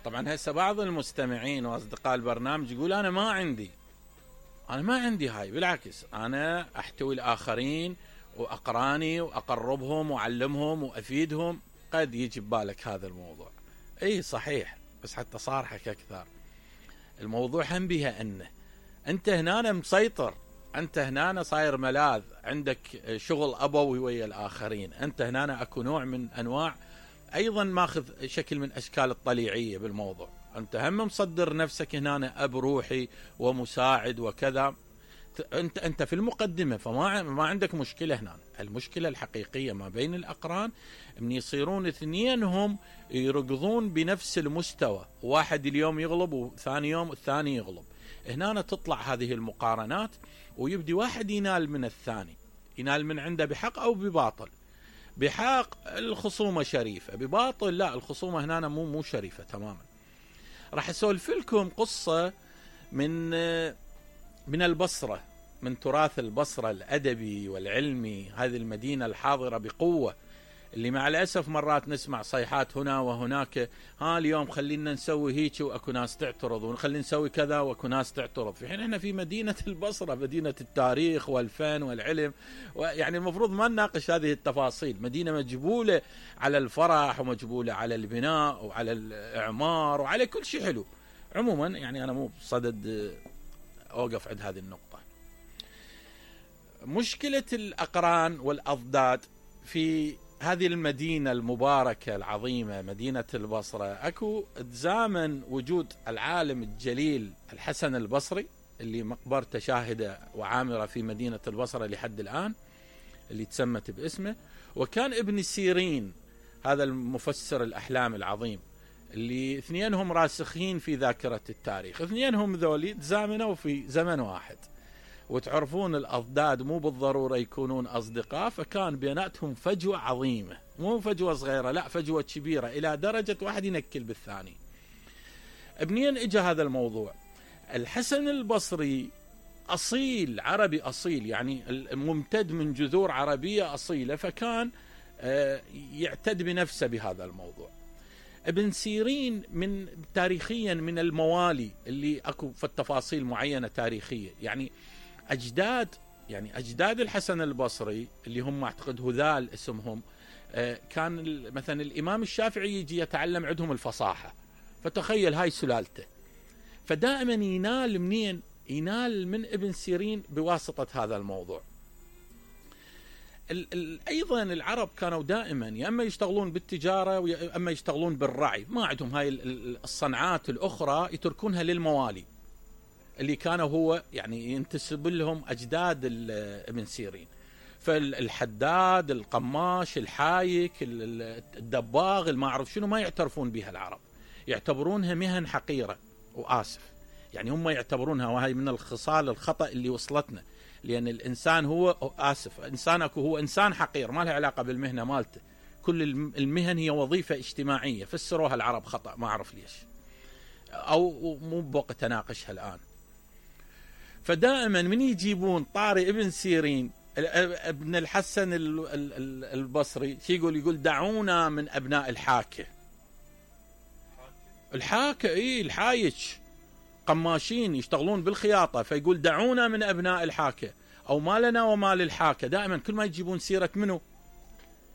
طبعا هسه بعض المستمعين واصدقاء البرنامج يقول انا ما عندي هاي، بالعكس انا احتوي الاخرين واقراني واقربهم واعلمهم وافيدهم. قد يجي ببالك هذا الموضوع، اي صحيح، بس حتى صارحك اكثر، الموضوع هم بها انه انت هنا مسيطر، انت هنا صاير ملاذ، عندك شغل ابوي ويا الاخرين، انت هنا اكو نوع من انواع ايضا ماخذ شكل من اشكال الطليعيه بالموضوع، انت هم مصدر نفسك هنا اب روحي ومساعد وكذا، انت في المقدمه، فما عندك مشكله هنا. المشكله الحقيقيه ما بين الاقران من يصيرون اثنينهم يركضون بنفس المستوى، واحد اليوم يغلب وثاني يوم الثاني يغلب، هنا تطلع هذه المقارنات ويبدي واحد ينال من الثاني، ينال من عنده بحق او بباطل. بحق الخصومه شريفه، بباطل لا، الخصومه هنا مو شريفه تماما. راح اسولف لكم قصه من البصره، من تراث البصره الادبي والعلمي، هذه المدينه الحاضره بقوه، اللي مع الاسف مرات نسمع صيحات هنا وهناك، اليوم خلينا نسوي هيك واكو ناس تعترض، ونخلي نسوي كذا واكو ناس تعترض، في حين احنا في مدينه البصره، مدينه التاريخ والفن والعلم، ويعني المفروض ما نناقش هذه التفاصيل، مدينه مجبوله على الفرح ومجبوله على البناء وعلى الاعمار وعلى كل شيء حلو. عموما يعني انا مو بصدد اوقف عند هذه النقطه. مشكله الاقران والاضداد في هذه المدينة المباركة العظيمة مدينة البصرة، اكو تزامن وجود العالم الجليل الحسن البصري اللي مقبرته شاهدة وعامرة في مدينة البصرة لحد الآن، اللي تسمت باسمه، وكان ابن سيرين هذا المفسر الأحلام العظيم، اللي اثنينهم راسخين في ذاكرة التاريخ، اثنينهم ذولي تزامنوا في زمن واحد، وتعرفون الأضداد مو بالضرورة يكونون أصدقاء، فكان بيناتهم فجوة عظيمة، مو فجوة صغيرة، لا فجوة كبيرة، إلى درجة واحد ينكل بالثاني. منين اجى هذا الموضوع؟ الحسن البصري أصيل، عربي أصيل، يعني ممتد من جذور عربية أصيلة، فكان يعتد بنفسه بهذا الموضوع. ابن سيرين من تاريخيا من الموالي اللي اكو في التفاصيل معينة تاريخية، يعني أجداد الحسن البصري اللي هم أعتقد هذال اسمهم، كان مثلا الإمام الشافعي يجي يتعلم عندهم الفصاحة، فتخيل هاي سلالته، فدائما ينال منين؟ ينال من ابن سيرين بواسطة هذا الموضوع. أيضا العرب كانوا دائما يا أما يشتغلون بالتجارة ويا أما يشتغلون بالرعي، ما عندهم هاي الصنعات الأخرى، يتركونها للموالي اللي كانوا هو يعني ينتسب لهم أجداد ابن سيرين، فالحداد، القماش، الحايك، الدباغ، ما أعرف شنو، ما يعترفون بها العرب، يعتبرونها مهن حقيرة، وآسف يعني هم يعتبرونها، وهي من الخصال الخطأ اللي وصلتنا، لأن الإنسان هو آسف إنسانك هو إنسان حقير، ما له علاقة بالمهنة مالته، كل المهن هي وظيفة اجتماعية، فسروها العرب خطأ، ما أعرف ليش، أو مو بوقت أناقشها الآن. فدائما من يجيبون طاري ابن سيرين ابن الحسن البصري شي يقول دعونا من أبناء الحاكة، الحايج، قماشين يشتغلون بالخياطة، فيقول دعونا من أبناء الحاكة، أو ما لنا وما للحاكة، دائما كل ما يجيبون سيرة منه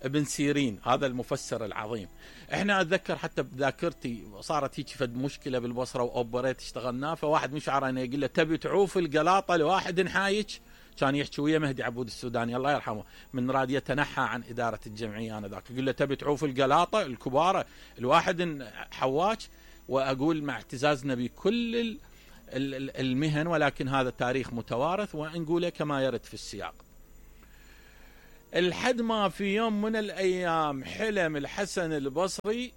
ابن سيرين هذا المفسر العظيم. احنا اتذكر حتى بذاكرتي صارت هيك فد مشكله بالبصره واوبريت اشتغلناه، فواحد مش عراني يقول له تبي تعوف القلاطه لواحد حايج، كان يحكي ويا مهدي عبود السوداني الله يرحمه، من راد يتنحى عن اداره الجمعيه انذاك، يقول له تبي تعوف القلاطه الكباره الواحد حواج، واقول مع اعتزازنا بكل المهن، ولكن هذا تاريخ متوارث ونقوله كما يرد في السياق. الحد ما في يوم من الأيام حلم الحسن البصري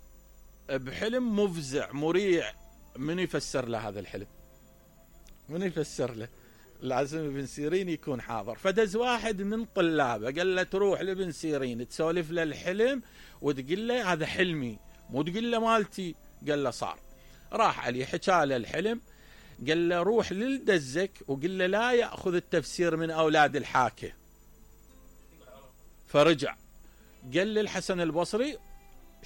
بحلم مفزع مريع، من يفسر له هذا الحلم؟ من يفسر له؟ لازم ابن سيرين يكون حاضر. فدز واحد من طلابه قال له تروح لابن سيرين تسولف له الحلم وتقول له هذا حلمي، مو تقول له مالتي. قال له صار. راح عليه حكى له الحلم، قال له روح للدزك وقال له لا يأخذ التفسير من أولاد الحاكة. فرجع قال للحسن البصري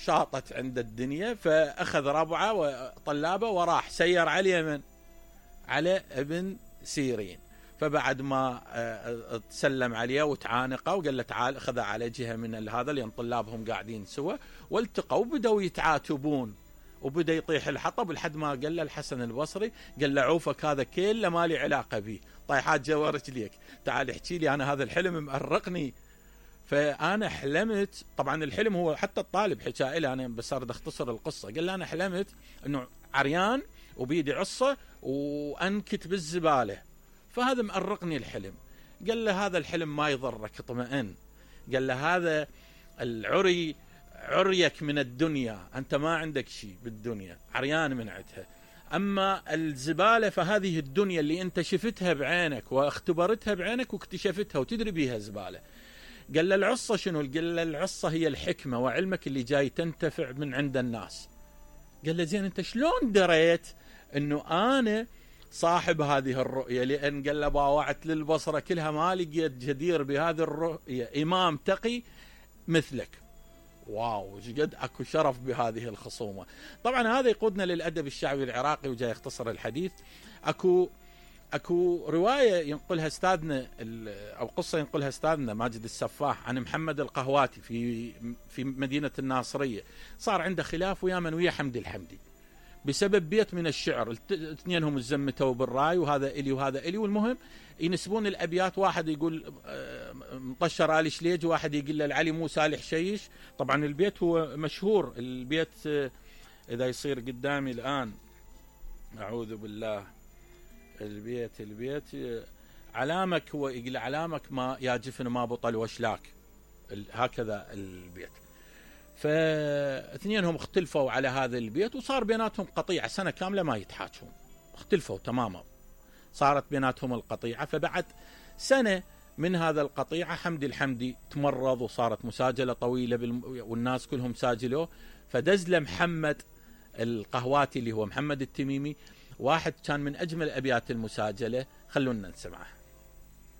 شاطت عند الدنيا، فأخذ ربعه وطلابه وراح سير على اليمن على ابن سيرين. فبعد ما تسلم عليه وتعانقه وقال له تعال، أخذ على جهة من هذا لأن طلابهم قاعدين سوا، والتقوا وبدأوا يتعاتبون، وبدأ يطيح الحطب لحد ما قال له الحسن البصري، قال له عوفك هذا كله ما لي علاقة به، طايحات جوا رجليك، تعال احكي لي أنا هذا الحلم مأرقني. فأنا حلمت، طبعا الحلم هو حتى الطالب حكى له، أنا بس أريد أختصر القصة، قال له أنا حلمت أنه عريان وبيدي عصة وأنكت بالزبالة، فهذا مأرقني الحلم. قال له هذا الحلم ما يضرك، اطمئن. قال له هذا العري عريك من الدنيا، أنت ما عندك شيء بالدنيا، عريان من عندها. أما الزبالة فهذه الدنيا اللي أنت شفتها بعينك واختبرتها بعينك واكتشفتها وتدري بيها زبالة. قال له العصة شنو؟ قال له العصة هي الحكمة وعلمك اللي جاي تنتفع من عند الناس. قال له زين أنت شلون دريت أنه أنا صاحب هذه الرؤية؟ لأن قال له باوعت للبصرة كلها ما لقيت جدير بهذه الرؤية إمام تقي مثلك. واو، قد اكو شرف بهذه الخصومة. طبعا هذا يقودنا للأدب الشعبي العراقي، وجاي يختصر الحديث. اكو رواية ينقلها استاذنا او قصة ينقلها استاذنا ماجد السفاح عن محمد القهواتي في مدينة الناصرية. صار عنده خلاف ويا حمدي الحمدي بسبب بيت من الشعر، اثنينهم تزمتوا بالراي، وهذا إلي وهذا إلي، والمهم ينسبون الأبيات، واحد يقول مطشر آل شليج، واحد يقول له العلي مو سالح شيش. طبعا البيت هو مشهور، البيت إذا يصير قدامي الآن أعوذ بالله، البيت علامك، هو يقول علامك ما يا جفن ما بطل وشلاك، هكذا البيت. فاثنينهم اختلفوا على هذا البيت، وصار بيناتهم قطيعة سنة كاملة ما يتحاكون، اختلفوا تماما، صارت بيناتهم القطيعة. فبعد سنة من هذا القطيعة حمدي الحمدي تمرض، وصارت مساجلة طويلة والناس كلهم ساجلوه، فدز له محمد القهواتي اللي هو محمد التميمي واحد كان من أجمل أبيات المساجلة، خلونا نسمعه.